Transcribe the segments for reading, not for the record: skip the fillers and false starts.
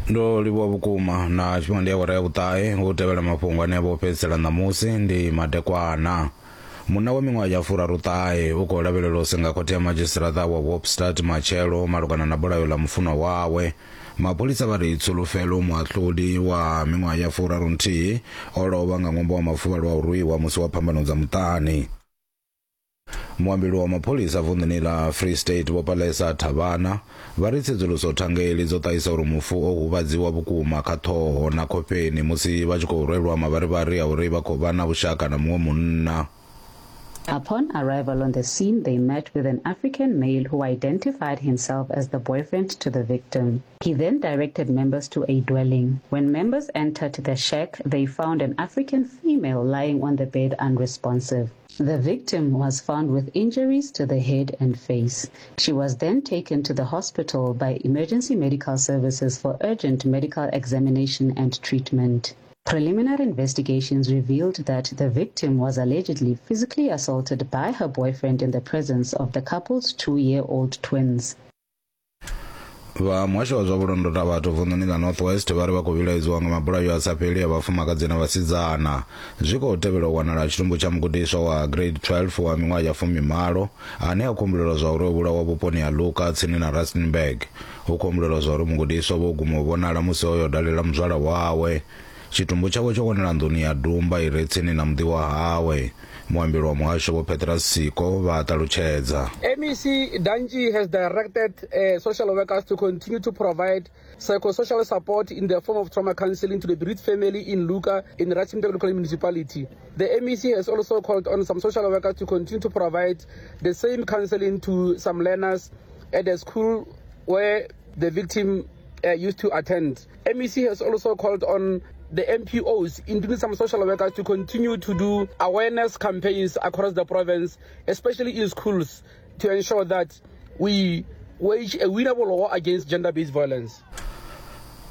Ndo livhuwa vhukuma na tshifhinga ndi awara ya vhuṱahe hu tevhela mafhungo ane a vha o fhedzisela ṋamusi ndi madekwana. Munna wa miṅwaha ya furaruṱahe u khou lavhelelwa u senga khothe ya madzhisiṱiraṱa wa Hoopstad matshelo malugana na bulayo ḽa mufunwa wawe. Mapholisa vha ri Tsholofelo Muhahluli wa miṅwaha ya furarunthihi o lovha nga ṅwambo wa mafuvhalo a u rwiwa musi wa phambano dza muṱani. Muambeli wa mapholisa vunḓuni ḽa Free State Vho Palesa Thabana vha ri tsedzuluso thangeli dzo ṱahisa uri mufu o huvhadziwa vhukuma kha ṱhoho na khofheni musi vha tshi khou rwelwa mavharivhari a uri vha khou vha na vhushaka na muṅwe munna. Upon arrival on the scene, they met with an African male who identified himself as the boyfriend to the victim. He then directed members to a dwelling. When members entered the shack, they found an African female lying on the bed unresponsive. The victim was found with injuries to the head and face. She was then taken to the hospital by emergency medical services for urgent medical examination and treatment. Preliminary investigations revealed that the victim was allegedly physically assaulted by her boyfriend in the presence of the couple's two year old twins. Vha muhasho wa zwa vhulondota vhathu vunḓuni ḽa North West vha ri vha khou vhilaedziwa nga mabulayo a sa fheli a vhafumakadzi na vhasidzana. Zwi khou tevhela u wanala tshitumbu tsha mugudiswa wa grade 12 wa miṅwaha ya fumimalo ane a khou humbulelwa zwa uri o vhulawa vhuponi ha Luka tsini na Rustenburg. Hu khou humbulelwa zwa uri mugudiswa vho guma u vhonala musi o yo dalela muzwala wawe. Tshitumbu tshawe tsho wanala nḓuni ya dumba i re tsini na muḓi wa hawe. Muambeli wa muhasho Vho Petrus Siko vha a ṱalutshedza. MEC Danji has directed uh, social workers to continue to provide psychosocial support in the form of trauma counseling to the bereaved family in Luka in Rustenburg local municipality. The MEC has also called on some social workers to continue to provide the same counseling to some learners at the school where the victim uh, used to attend. MEC has also called on the MPOs, including some social workers, to continue to do awareness campaigns across the province, especially in schools, to ensure that we wage a winnable war against gender-based violence.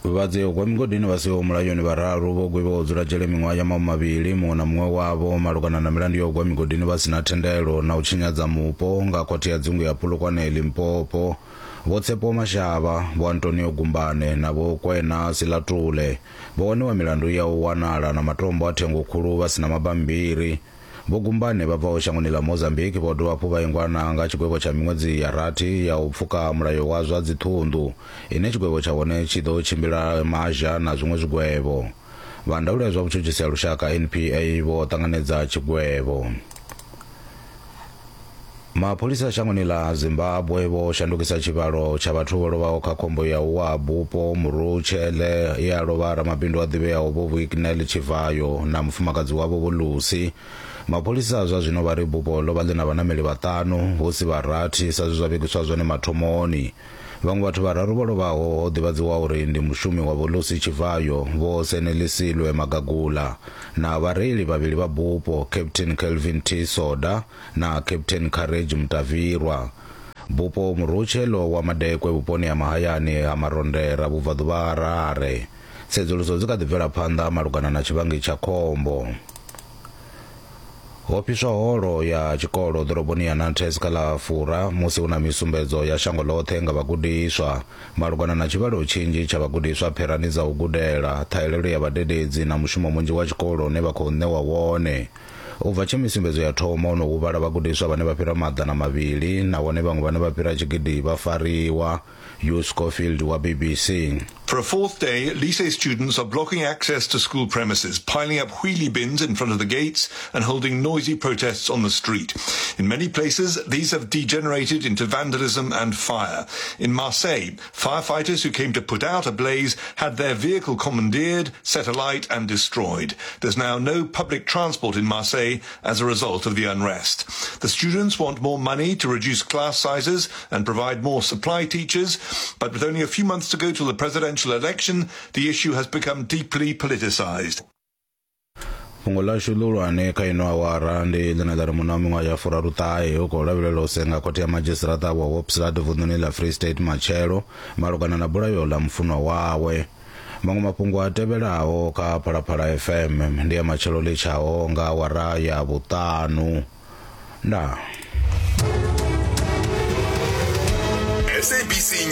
Vhadzia u gwa migodini vha siho mulayoni vhararu vho gwevhiwa u dzula dzhele miṅwaha ya mahumavhili muṅwe na muṅwe wavho malugana na milandu ya u gwa migodini vha si na thendelo na u tshinyadza mupo nga khothe ya dzingu ya Polokwane Limpopo. Vho Tshepo Mashaba, Vho Antonio Gumbane na Vho Kwena Silatule vho waniwa milandu ya u wanala na matombo a thengo khulu vha si na mabammbiri. Vho Gumbane vha bvaho shangoni ḽa Mozambique vho dovha hafhu vha ingwa na nga tshigwevho tsha miṅwedzi ya rathi ya u pfuka mulayo wa zwa dziṱhunḓu ine tshigwevho tsha hone tshi ḓo tshimbila mazha na zwiṅwe zwigwevho. Vha ndaulo ya zwa vhutshutshisi ha lushaka NPA vho ṱanganedza tshigwevho. Mapholisa shangoni ḽa Zimbabwe vho shandukisa tshivhalo tsha vhathu vho lovhaho kha khombo ya u wa ha bupo Murutshe ḽe ya lovha ramabindu a ḓivheaho Vho Wicknell Chivayo na mufumakadzi wavho Vho Lucy. Mapholisa zwa zwino vha ri bupo ḽo vha ḽi na vhanameli vhaṱanu hu si vha rathi sa zwe zwa vhigiswa zwone mathomoni. Vhaṅwe vhathu vhararu vho lovhaho ho ḓivhadziwa uri ndi mushumi wa Vho Lucy Chivayo, Vho Senelisilwe Magagula na vhareili vhavhili vha bupo, Captain Kelvin T Soda na Captain Courage Mutavirwa. Bupo Murutshe ḽo wa madekwe vhuponi ha mahayani ha Marondera vhubvaḓuvha ha Harare. Tsedzuluso dzi kha ḓi bvela phanḓa malugana na tshivhangi tsha khombo. Ho fhiswa holo ya tshikolo ḓoroboni ya Nantes kha ḽa Fura musi hu na misumbedzo ya shango ḽoṱhe nga vhagudiswa malugana na tshivhalo tshinzhi tsha vhagudiswa pherani dza u gudela, ṱhahelelo ya vhadededzi na mushumo munzhi wa tshikolo une vha khou ṋewa wone. U bva tshe misumbedzo ya thoma ho no huvhala vhagudiswa vhane vha fhira 200 nahone vhaṅwe vhane vha fhira tshigidi vha fariwa. Hugh Schofield wa BBC. For a fourth day, Lycée students are blocking access to school premises, piling up wheelie bins in front of the gates and holding noisy protests on the street. In many places, these have degenerated into vandalism and fire. In Marseille, firefighters who came to put out a blaze had their vehicle commandeered, set alight and destroyed. There's now no public transport in Marseille as a result of the unrest. The students want more money to reduce class sizes and provide more supply teachers, but with only a few months to go till the presidential election, the issue has become deeply politicized. Fhungo ḽashu ḽihulwane kha ino awara ndi ḽine ḽa ri munna wa miṅwaha ya furaruṱahe u khou lavhelelwa u senga khothe ya madzhisiṱiraṱa wa Hoopstad vunḓuni ḽa Free State matshelo malugana na bulayo ḽa mufunwa wawe. Maṅwe mafhungo a tevhelaho kha Phalaphala FM ndi a matshelo ḽi tshaho nga awara ya vhuṱanu. Ndaa. SABC